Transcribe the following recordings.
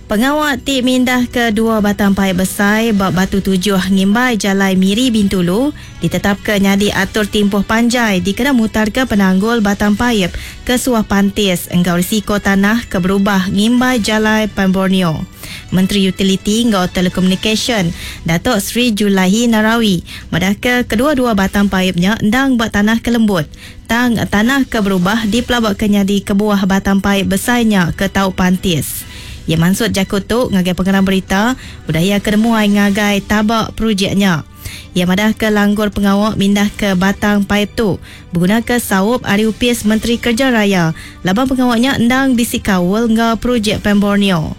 Pengawa ti mindah ke dua batang paip besai ba Batu Tujuh ngimbai Jalai Miri Bintulu ditetapka nyadi atur timpuh panjai dikena mutarka penanggul batang paip ke suah pantis enggau risiko tanah ke berubah ngimbai Jalai Pan Borneo. Menteri Utiliti enggau Telekomunikasyen, Datuk Seri Julaihi Narawi madahka kedua-dua batang paip nya endang ba tanah ke lembut tang tanah ke berubah dipelabaka nyadi kebuah batang paip besai nya ke tau pantis. Iya mansut jaku tu ngagai pengerang berita udah iya ke nemuai ngagai taba projek nya. Iya madahka langgur pengawa mindahka batang paip tu begunaka saup ari Opis Menteri Kerja Raya laban pengawa nya endang bisi kaul enggau projek Pan Borneo.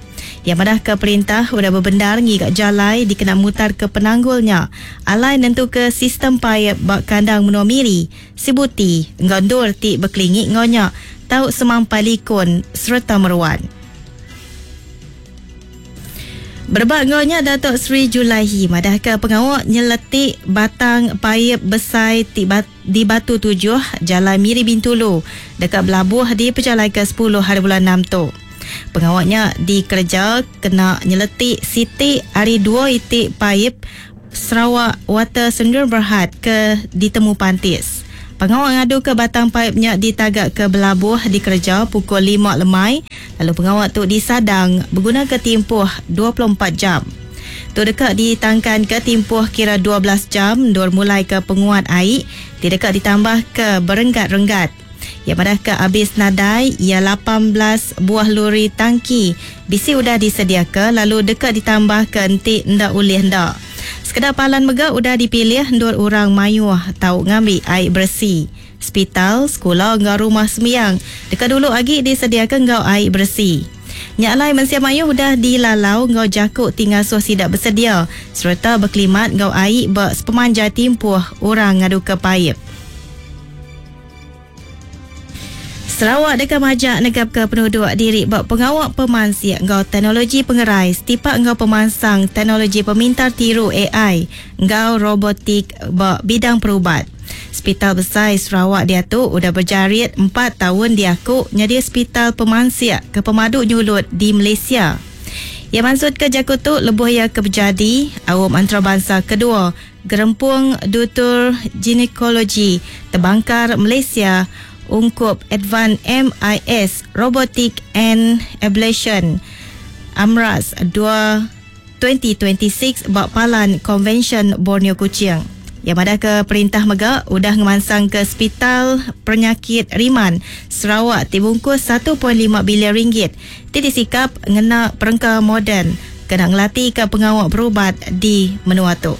Iya madahka perintah udah bebendar ngiga jalai dikena mutarka penanggul nya alai nentuka sistem paip ba kandang menua Miri, Sibuti enggau endur ti bekelingi enggau nya tau semampai likun sereta meruan. Berebak enggau nya Datuk Seri Julaihi madahka pengawa nyeletik batang paip besai ti di Batu Tujuh, Jalai Miri Bintulu deka belabuh dipejalaika sepuluh hari bulan enam tu. Pengawa nya dikereja kena nyeletik siti ari dua iti paip Sarawak Water Sendirian Berhad ke ditemu pantis. Pengawa ngaduka batang paip nya ditagaka belabuh dikereja pukul lima lemai lalu pengawa tu disadang begunaka timpuh 24 jam. Tu deka ditangkanka timpuh kira 12 jam endur mulaika penguat ai ti deka ditambahka berenggat-renggat. Iya madahka abis nadai iya 18 buah luri tangki bisi udah disediaka lalu deka ditambahka enti enda ulih enda. Sekeda palan mega udah dipilih endur orang mayuh tau ngambi ai beresi. Sepital, sekula enggau rumah sembiang deka dulu agi disediaka enggau ai beresi. Nya alai mensia mayuh udah dilalau enggau jaku ti ngasuh sida besedia sereta bekelimat enggau ai ba sepemanjai timpuh orang ngaduka paip. Sarawak deka majak negapka penuduk diri ba pengawa pemansik enggau teknologi pengerai setipak enggau pemansang teknologi pemintar tiru ai enggau robotik ba bidang perubat. Sepital Besai Sarawak diatu udah bejarit empat taun diaku nyadi sepital pemansik ke pemadu nyulut di Malaysia. Iya mansutka jaku tu lebuh iya ke bejadi Aum Antarabansa Kedua Gerempung Dutur Ginekologi Tebangkar Malaysia ungkup Advan MIS Robotic and Ablation, AMRAS, dua 2026 ba Palan Konvensyen Borneo Kuching. Iya madahka perintah mega udah ngemansangka Sepital Penyakit Riman Sarawak ti bungkus 1.5 bilion ringgit ti disikap ngena perengka moden kena ngelatika pengawa berubat di menua tu.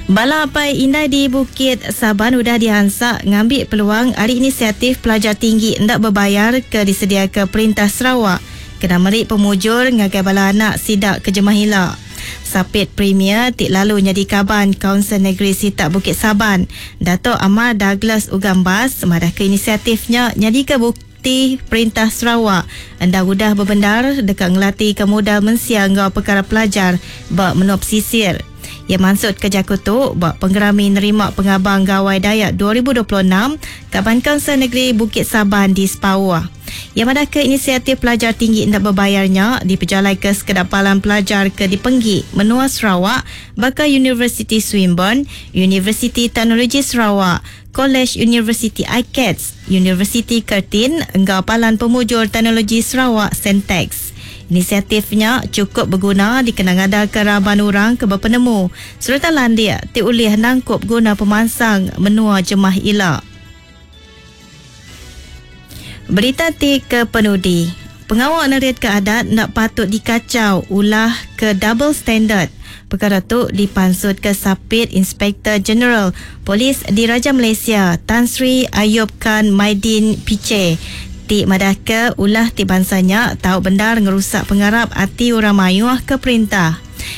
Bala apai indai di Bukit Saban udah diansak ngambi peluang ari inisiatif pelajar tinggi enda bebayar ke disediaka Perintah Sarawak kena meri pemujur ngagai bala anak sida ke jemah ila. Sapit Premier ti lalu nyadi kaban Kaunsil Negeri Sitak Bukit Saban, Datuk Amar Douglas Ugambas madahka inisiatif nya nyadika bukti Perintah Sarawak endang udah bebendar deka ngelatika mudal mensia enggau pekara pelajar ba menua pesisir. Iya mansutka jaku tu ba Pengerami Nerima Pengabang Gawai Dayak 2026 Kaban Kaunsil Negeri Bukit Saban di Sepauh. Iya madahka inisiatif pelajar tinggi enda bebayar nya dipejalaika sekeda palan pelajar ke dipenggi menua Sarawak baka Universiti Swinburne, Universiti Teknologi Sarawak, Kolej Universiti ICATS, Universiti Curtin enggau Palan Pemujur Teknologi Sarawak Centexs. Inisiatif nya chukup beguna dikena ngadaka raban orang ke bepenemu sereta landik ti ulih nangkup guna pemansang menua jemah ila. Berita ti kepenudi, pengawa neritka adat enda patut dikachau ulah ke double standard. Pekara tu dipansutka Sapit Inspektor Jeneral Polis Diraja Malaysia Tan Sri Ayob Khan Mydin Piche ti madahka ulah ti bansa nya tau bendar ngerusak pengarap ati orang mayuh ke perintah.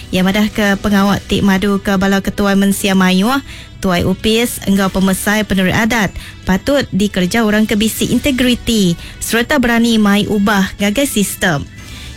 Iya madahka pengawa ti maduka bala ketuai mensia mayuh Tuai opis enggau pemesai penerit adat patut dikereja orang ke bisi integriti sereta berani mai ubah ngagai sistem.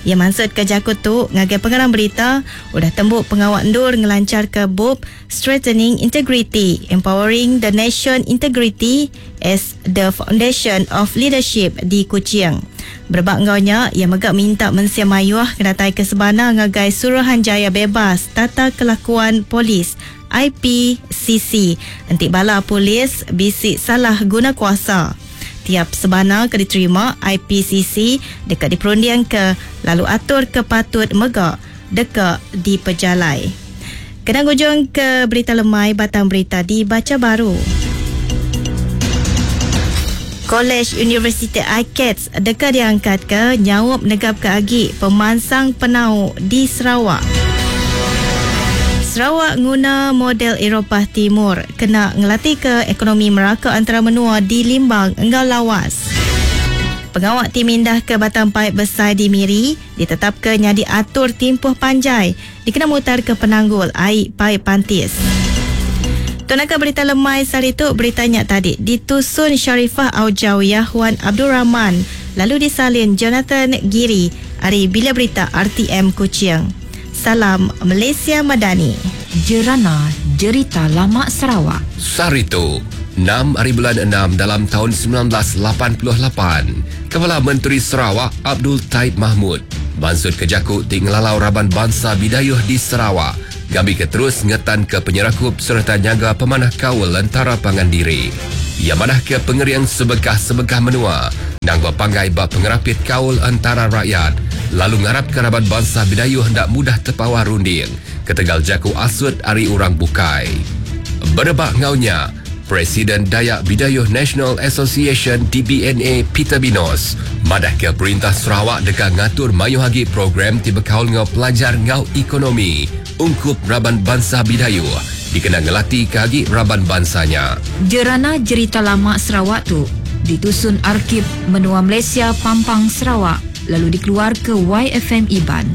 Iya mansutka jaku tu ngagai pengarang berita udah tembu pengawa endur ngelancharka bup Strengthening Integrity, Empowering the Nation Integrity as the Foundation of Leadership di Kuching. Berebak enggau nya, iya mega minta mensia mayuh ngenatai ke sebana ngagai Suruhanjaya Bebas Tata Kelakuan Polis, IPCC, enti bala polis bisi salah guna kuasa. Tiap sebana ke diterima IPCC deka diperundingka lalu atur ke patut mega deka dipejalai. Kena ngujung ke berita lemai batang berita dibacha baru. Kolej Universiti ICATS deka diangkatka nyaup negapka agi pemansang penau di Sarawak. Sarawak nguna model Eropah Timur kena ngelatika ekonomi meraka antara menua di Limbang enggau Lawas. Pengawa ti mindahka batang paip besai di Miri ditetapka nyadi atur timpuh panjai dikena mutarka penanggul ai paip pantis. Tu naka berita lemai sehari tu, berita nya tadi ditusun Sharifah Aujawiyah Wan Abdul Rahman lalu disalin Jonathan Giri ari Bilik Berita RTM Kuching. Salam Malaysia Madani. Jerana Jerita Lama Sarawak. Sehari tu, enam ari bulan enam dalam taun 1988, Kepala Menteri Sarawak Abdul Taib Mahmud mansutka jaku ti ngelalau raban bansa Bidayuh di Sarawak ngambika terus ngetanka penyerakup sereta nyaga pemanah kaul entara pangan diri. Iya madahka pengering sebengkah-sebengkah menua endang bepanggai ba pengerapit kaul entara rakyat lalu ngarapka raban bansa Bidayuh enda mudah tepawah runding ketegal jaku asut ari orang bukai. Berebak enggau nya, Presiden Dayak Bidayuh National Association, DBNA, Peter Binos madahka Perintah Sarawak deka ngatur mayuh agi program ti bekaul enggau pelajar enggau ekonomi ungkup raban bansa Bidayuh dikena ngelatika agi raban bansa nya. Jerana Jerita Lama Sarawak tu ditusun Arkib Menua Malaysia Pampang Sarawak lalu dikeluarka YFM Iban.